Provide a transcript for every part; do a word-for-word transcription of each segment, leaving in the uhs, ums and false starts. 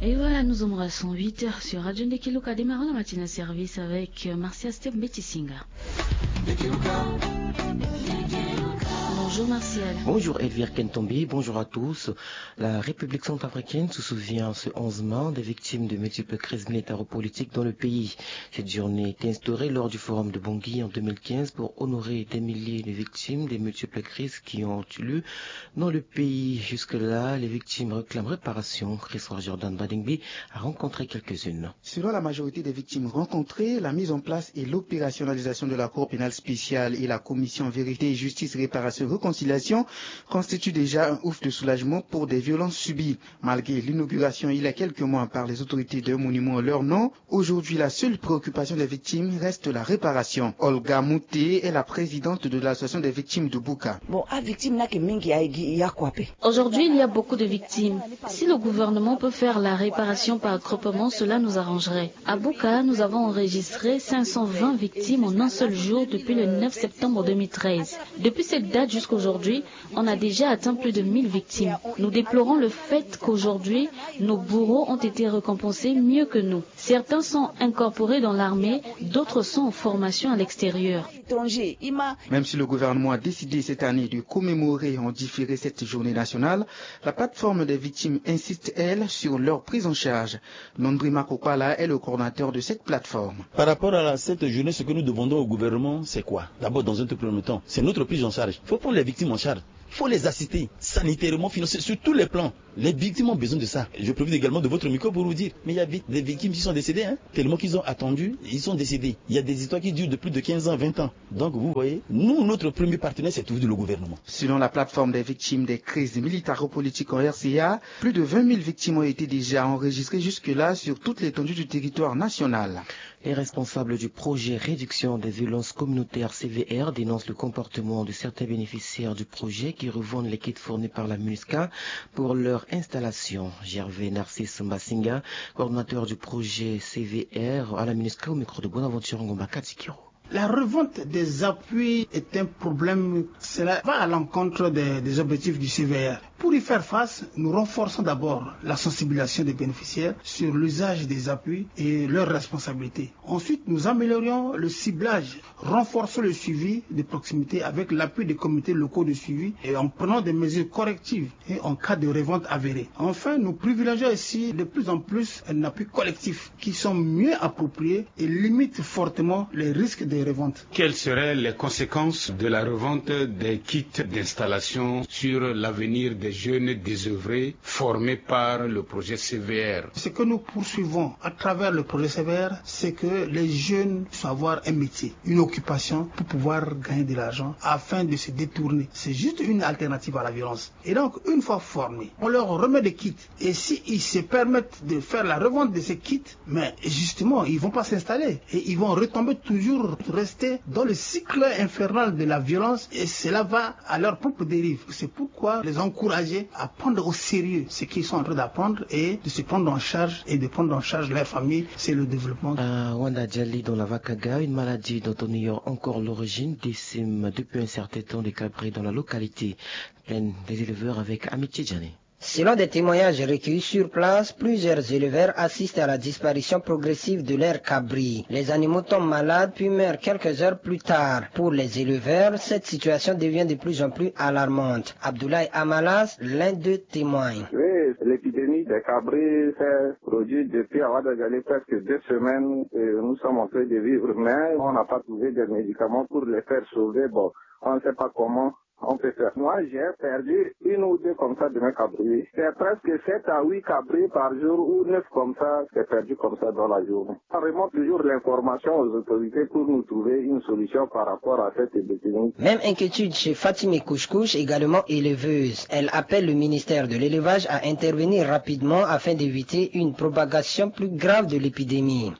Et voilà, nous sommes à cent huit heures sur Radio Ndekeluka. Démarrons la matinée de service avec euh, Martial Steve Betisinga. Bonjour Martial. Bonjour Elvire Kentombi, bonjour à tous. La République centrafricaine se souvient ce onze mai des victimes de multiples crises militaro-politiques dans le pays. Cette journée a été instaurée lors du forum de Bangui en deux mille quinze pour honorer des milliers de victimes des multiples crises qui ont eu lieu dans le pays. Jusque-là, les victimes réclament réparation. Christophe Jordan Badingbi a rencontré quelques-unes. Selon la majorité des victimes rencontrées, la mise en place et l'opérationnalisation de la Cour pénale spéciale et la Commission Vérité, Justice, Réparation et Réconciliation constituent déjà un ouf de soulagement pour des violences subies. Malgré l'inauguration il y a quelques mois par les autorités d'un monument en leur nom, aujourd'hui la seule préoccupation des victimes reste la réparation. Olga Mouté est la présidente de l'association des victimes de Bouka. Bon, a victime na ke mingi aye gi ya kua pe. Aujourd'hui, il y a beaucoup de victimes. Si le gouvernement peut faire la réparation par groupement, cela nous arrangerait. À Bouka, nous avons enregistré cinq cent vingt victimes en un seul jour depuis le neuf septembre deux mille treize. Depuis cette date jusqu'aujourd'hui, on a déjà atteint plus de mille victimes. Nous déplorons le fait qu'aujourd'hui, nos bourreaux ont été récompensés mieux que nous. Certains sont incorporés dans l'armée, d'autres sont en formation à l'extérieur. Même si le gouvernement a décidé cette année de commémorer en différé cette journée nationale, la plateforme des victimes insiste, elle, sur leur prise en charge. Nondri Makopala est le coordinateur de cette plateforme. Par rapport à cette journée, ce que nous demandons au gouvernement, c'est quoi ? D'abord, dans un tout premier temps, c'est notre prise en charge. Il faut prendre les victimes en charge. Il faut les assister sanitairement, financièrement, sur tous les plans. Les victimes ont besoin de ça. Je profite également de votre micro pour vous dire, mais il y a des victimes qui sont décédées, hein, tellement qu'ils ont attendu, ils sont décédés. Il y a des histoires qui durent de plus de quinze ans, vingt ans. Donc vous voyez, nous, notre premier partenaire, c'est toujours le gouvernement. Selon la plateforme des victimes des crises militaro-politiques en R C A, plus de vingt mille victimes ont été déjà enregistrées jusque-là sur toute l'étendue du territoire national. Les responsables du projet réduction des violences communautaires C V R dénoncent le comportement de certains bénéficiaires du projet qui revendent les kits fournis par la MINUSCA pour leur installation. Gervais Narcisse Mbasinga, coordonnateur du projet C V R à la MINUSCA, au micro de Bonaventure Ngomba Katikiro. La revente des appuis est un problème. Cela va à l'encontre des, des objectifs du C V R. Pour y faire face, nous renforçons d'abord la sensibilisation des bénéficiaires sur l'usage des appuis et leurs responsabilités. Ensuite, nous améliorons le ciblage, renforçons le suivi de proximité avec l'appui des comités locaux de suivi et en prenant des mesures correctives et en cas de revente avérée. Enfin, nous privilégions aussi de plus en plus un appui collectif qui sont mieux appropriés et limitent fortement les risques de revente. Quelles seraient les conséquences de la revente des kits d'installation sur l'avenir des jeunes désœuvrés formés par le projet C V R ? Ce que nous poursuivons à travers le projet C V R, c'est que les jeunes puissent avoir un métier, une occupation pour pouvoir gagner de l'argent afin de se détourner. C'est juste une alternative à la violence. Et donc, une fois formés, on leur remet des kits. Et s'ils se permettent de faire la revente de ces kits, mais justement, ils vont pas s'installer. Et ils vont retomber toujours, rester dans le cycle infernal de la violence. Et cela va à leur propre dérive. C'est pourquoi les encourager à prendre au sérieux ce qu'ils sont en train d'apprendre et de se prendre en charge et de prendre en charge leur famille, c'est le développement. À Wanda Djali, dans la Vakaga, une maladie dont on ignore encore l'origine décime depuis un certain temps des cabris dans la localité. Pleine des éleveurs avec Amitié Djani. Selon des témoignages recueillis sur place, plusieurs éleveurs assistent à la disparition progressive de leurs cabris. Les animaux tombent malades puis meurent quelques heures plus tard. Pour les éleveurs, cette situation devient de plus en plus alarmante. Abdoulaye Amalas, l'un d'eux, témoigne. Oui, l'épidémie des cabris s'est produite depuis Awadagale presque deux semaines. Et nous sommes en train de vivre, mais on n'a pas trouvé de médicaments pour les faire sauver. Bon, on ne sait pas comment on peut faire. Moi, j'ai perdu une ou deux comme ça de mes cabris. C'est presque sept à huit cabris par jour ou neuf comme ça, c'est perdu comme ça dans la journée. On remonte toujours l'information aux autorités pour nous trouver une solution par rapport à cette épidémie. Même inquiétude chez Fatime Kouchkouch, également éleveuse. Elle appelle le ministère de l'élevage à intervenir rapidement afin d'éviter une propagation plus grave de l'épidémie.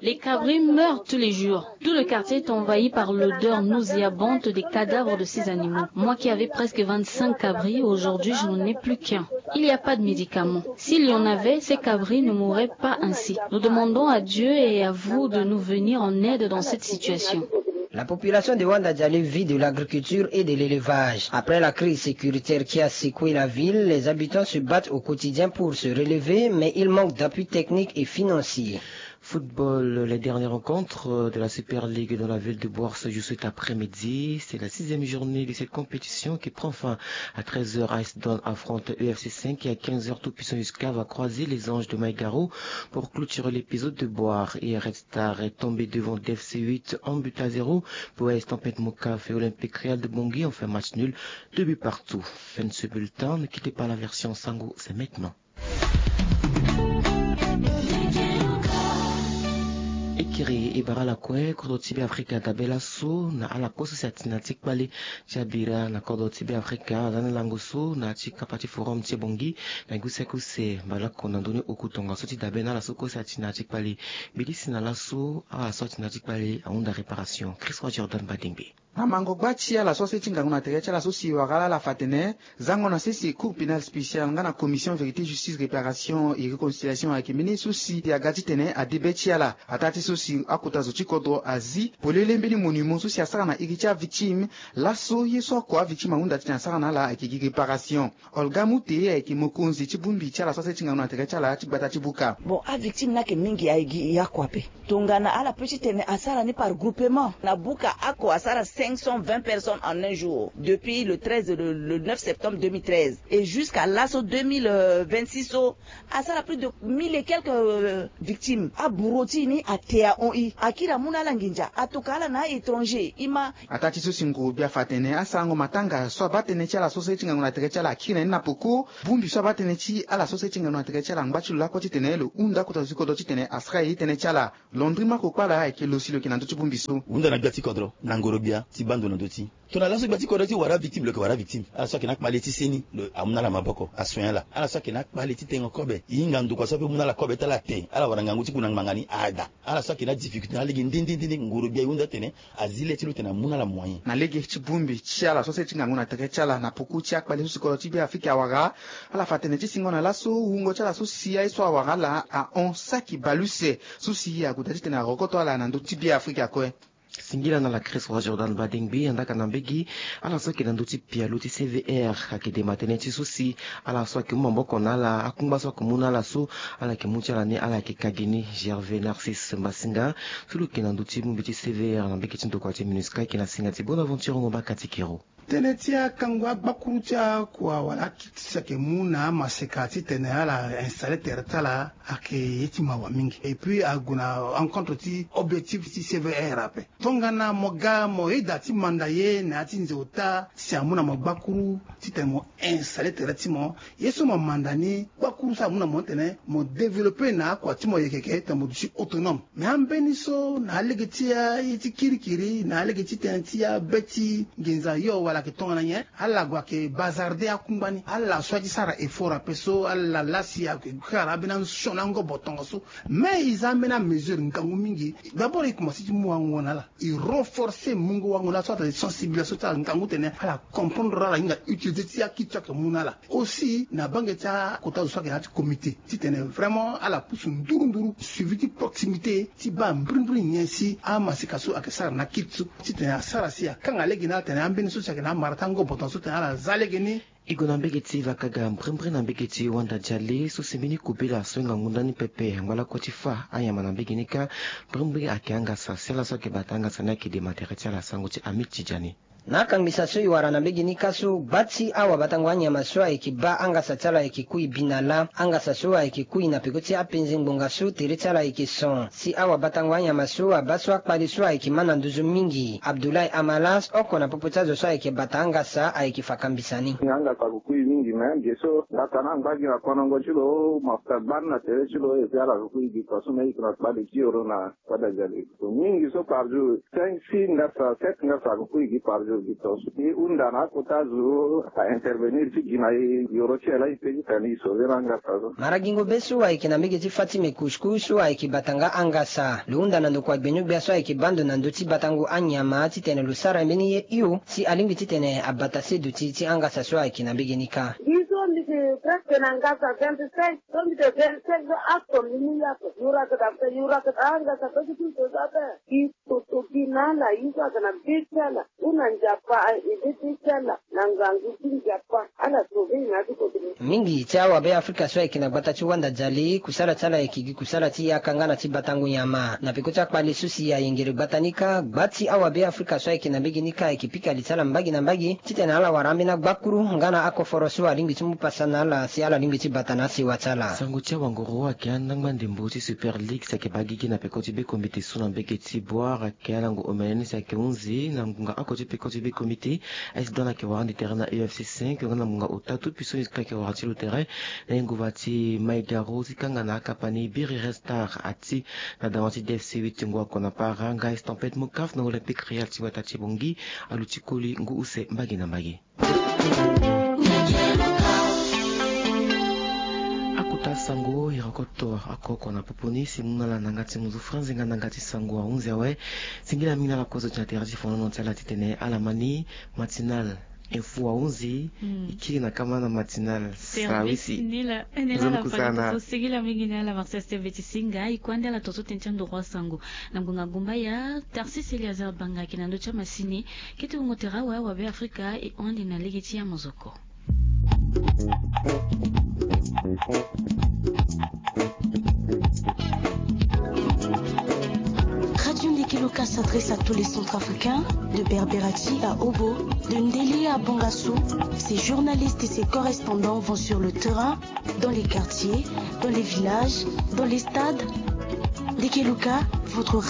Les cabris meurent tous les jours. Tout le quartier est envahi par l'odeur nauséabonde des cadavres de ces animaux. Moi qui avais presque vingt-cinq cabris, aujourd'hui je n'en ai plus qu'un. Il n'y a pas de médicaments. S'il y en avait, ces cabris ne mourraient pas ainsi. Nous demandons à Dieu et à vous de nous venir en aide dans cette situation. La population de Wanda Djali vit de l'agriculture et de l'élevage. Après la crise sécuritaire qui a secoué la ville, les habitants se battent au quotidien pour se relever, mais il manque d'appui technique et financier. Football, les dernières rencontres de la Super League dans la ville de Bourse joue cet après-midi. C'est la sixième journée de cette compétition qui prend fin à treize heures. Ice Dawn affronte E F C cinq et à quinze heures, Tout Puissant Usca va croiser les Anges de Maïgaro pour clôturer l'épisode de Boire. Et Red Star est tombé devant D F C huit, un but à zéro. Boys Tempête Mokaf et Olympique Real de Bangui ont fait match nul, deux buts partout. Fin de ce bulletin, ne quittez pas la version Sango, c'est maintenant. E kiri e bara ala kue kodro ti Be Afrika dabe laso na ala kue so si atene na ya ti kpale ti abira na kodro ti Be Afrika. Aza ni lango so na ya ti kapa ti forum ti Bangui na gi use kuse mbalako na ndoni oku tongaso ti dabe na ala so kue si atene na ya ti kpale. Mbi lisi na laso ala so atene na ya ti kpale ahunda réparation. Christ Roi Jordan Badingbe. Na mango gba ti ala so aseni ti ngangu na tere ti ala so si wara ala ala fa atene zango na sese Cour pénale spéciale nga na Commission vérité, justice, réparation et réconciliation ayeke mbeni ye so si aga titene ade be ti ala. Ataa ti so si akota zo ti kodro azi polele mbeni monument so si asara na iri ti avictime. Laso ye so oko avictime ahunda titene asara na ala ayeke gi réparation. Olga Mute ayeke mokonzi ti bongbi ti ala so aseni ti ngangu na tere ti ala ti gbata ti buka. Bon, avictime ni ayeke mingi, ayeke gi ya kua ape. Tongana ala peut titene asara ni par groupement. Na buka oko asara cinq cent vingt personnes en un jour depuis le treize, le, le neuf septembre deux mille treize et jusqu'à laso deux mille vingt-six so, asara plus de mille et quelques, euh, victimes. Aburo ti e ni ate ahon e, akiri amu na ala nginza, atoka ala na a-étranger. E ma. Ataa ti so si nguru gbia afa atene asarango matanga so abaa tënë ti ala so seni ti ngangu na tere ti ala akiri na ni na poko. Bongbi so abaa tënë ti ala so seni ti ngangu na tere ti ala angba ti lo lakue titene lo hunda kota zo ti kodro titene asara ye tënë ti ala. Londri Marco Kpala ayeke lo si lo yeke na ndö ti bongbi so. Hunda na gbia ti kodro na ngoro gbia ti baa ndo na ndö ti. Tongana laso gbia ti kodro ti wara victime, lo yeke wara victime. Ala so ayeke na akpale ti seni, lo amu na ala maboko, asoigner ala. Ala so ayeke na akpale ti tengo kobe, e hinga ndokua so ape mu na ala kobe ti ala te, ala wara ngangu ti ku na ngbanga ni, ada. Ala so ayeke na difficulté na alege nde nde nde nde, ngoro gbia e hunda atene azi le ti lo tene amu na ala moyen. Na lege ti bongbi ti ala so seni ti ngangu na tere ti ala na poko ti akpale so si kodro ti Be Afrika awara, ala fa atene ti singo na laso wungo ti ala so si aye so awara ala ahon saki bale use so si ague daa titene arokoto ala na ndö ti Be Afrika kue. Singila na ala Christ Roi Jordan Badingbe. Andaka na mbege, ala so ayeke na ndö ti pialo ti C V R ayeke dema tënë ti so si ala so ayeke mu maboko na ala, akungba so ayeke mu na ala so, ala yeke mu ti ala ni, ala yeke ka gi ni. Gervais Narcisse Mbasinga, so lo yeke na ndö ti bongbi ti C V R na mbege ti ndokua ti MINUSCA, ayeke na singa ti Bonaventure Ngomba Katikero. Tënë ti akango agbakuru ti akua wala akiti so ayeke mu na amaseka titene ala installer tere ti ala ayeke ye ti mawa mingi. Et puis ague na encontre ti objectif ti C V R ape. Tongana mo ga mo yeda ti manda ye na ya ti nze ota si amu na mo gbakuru titene mo installer tere ti mo, ye so mo manda ni, gbakuru so amu na mo titene mo développer na akua ti mo yeke yeke titene mo duti autonome. Mais ambeni so na alege ti aye ti kirikiri, na alege ti tënë ti abe ti nginza yo wala ayeke tongana nyen, ala gue ayeke bazarder akungba ni. Ala so aye ti sara effort ape so ala laa si ayeke kara ambeni ansion na angobo tongaso. Mais e za ambeni amesure ngangu mingi. D'abord e komanse ti mu wango na ala. E renforcer mungo wango na ala so atene sensibilisation ti ala ngangu tene ala comprendre ala hinga utilité ti akiti so ayeke mu na ala. Aussi na bange ti akota zo so ayeke na ya ti comité titene vraiment ala pusu nduru nduru suivi ti proximité ti baa mbirimbiri nyen si amaseka so ayeke sara na akiti so titene asara si akanga lege na ala tene ambeni so si ayeke na amara ti angobo tongaso tene ala za lege ni. E gue na mbege ti Vakaga, mbrimbri na mbege ti Wanda Diale so si mbeni kobela so e ngangu ndani pepe angba lakue ti fa anyama na mbege ni kâ. Mbrimbri ayeke angasa si ala so ayeke bata angasa ni ayeke dema tere ti ala, sango ti Amit Tidjani. Na akangisa so e wara na mbege ni kâ so, gba ti awabatango anyama so ayeke baa angasa ti ala ayeke kui bi na lâ. Angasa so ayeke kui na peko ti apenze ngbonga so tere ti ala ayeke son. Si awabatango anyama so abaa so akpale so ayeke mä na nduzu mingi. Abdoulaye Amalas, oko na popo ti azo so ayeke bata angasa, ayeke fa kambisa ni. Nga angasa ako kui mingi, me ge so ngata na angba gi na konongo ti lo, mafuta gbani na tere ti lo, et puis ala ako kui gi tongaso me e yeke na kpale ti oro na Wanda Diale. So mingi so par jour, cinq, six ngasa, sept ngasa ako kui gi par jour gi tongaso. E hunda na akota zo a intervenir ti gi na e, yoro ti e laa e pe ti tene e sauver na angasa so. Mara gingo be so ayeke na mbege ti Fatime Kouchkou so ayeke bata nga angasa. Lo hunda na ndokua gbenyo-gbia so ayeke baa ndo na ndö ti batango anyama titene lo sara mbeni ye hio si alingbi titene abata se duti ti angasa so ayeke na mbege ni kâ. Biso Mbi yeke presque na ngasa vingt-cinq, so mbi yeke vingt-cinq so ato mbi mu yako. Yurak da fe, yurak da ngasa pe ti so za pe. Gi toto gi na ala, yurak na be ti ala. Hunda Nzapa aye, e be ti ala na ngangu ti Nzapa. Ala sauver na ya ti kodro. Mingi ti awabe Afrika so ayeke na gbata ti Wanda Dzali, kusala ti ala ayeke gi kusala ti yaka nga na ti batango nyama. Na peko ti akpale so si ayengere gbata ni kâ, gba ti awabe Afrika so ayeke na mbage ni kâ ayeke pika li ti ala mbage na mbage titene ala wara ambeni agbakuru nga na akoforo so alingbi ti mu pasa na ala si ala lingbi ti bata na asewa ti ala. Sango ti awanguru ayeke andangba ndembo ti Super League si ayeke baa gigi na peko ti be komite so na mbage ti Bouar. Ayeke alango omene ni si ayeke hunzi na ngonga oko ti peko ti be komite. Aye si done ayeke wara ande tere na U F C cinq nga na ngonga ota, tout puissant musical ayeke wara ti lo tere na ye nguva ti Maïgaro ti kanga na akapa ni Biri Restar ati na dawa ti D F C huit ti ngu oko na para nga Estampette Mokaf na Olympique Real ti wata ti Bongi. Aluti koli ngu use mbage na mbage. Akota sango iri oko to oko oko na popo ni si mu na ala na yanga ti muzu franzi nga na yanga ti sango ahunzi awe. Singila mingi na ala kozo ti na tere ti fonono ti ala titene ala ma ni matinal info ahunzi. Mm. E kiri na kama na matinal. Service service ni la. Ni la. Nzoni la kusana. Singila mingi na ala Marcel Steve ti singa e kue ande ala toto tene ti andoro asango. Na ngonga gumbaya, Tarsis Eliazar Banga ayeke na ndö ti amasini. Kete wungo tere awe awabe Afrika e hon ande na lege ti amozoko. Radio Ndeke Luka s'adresse à tous les Centrafricains, de Berberati à Obo, de Ndélé à Bangassou. Ses journalistes et ses correspondants vont sur le terrain, dans les quartiers, dans les villages, dans les stades. Ndeke Luka, votre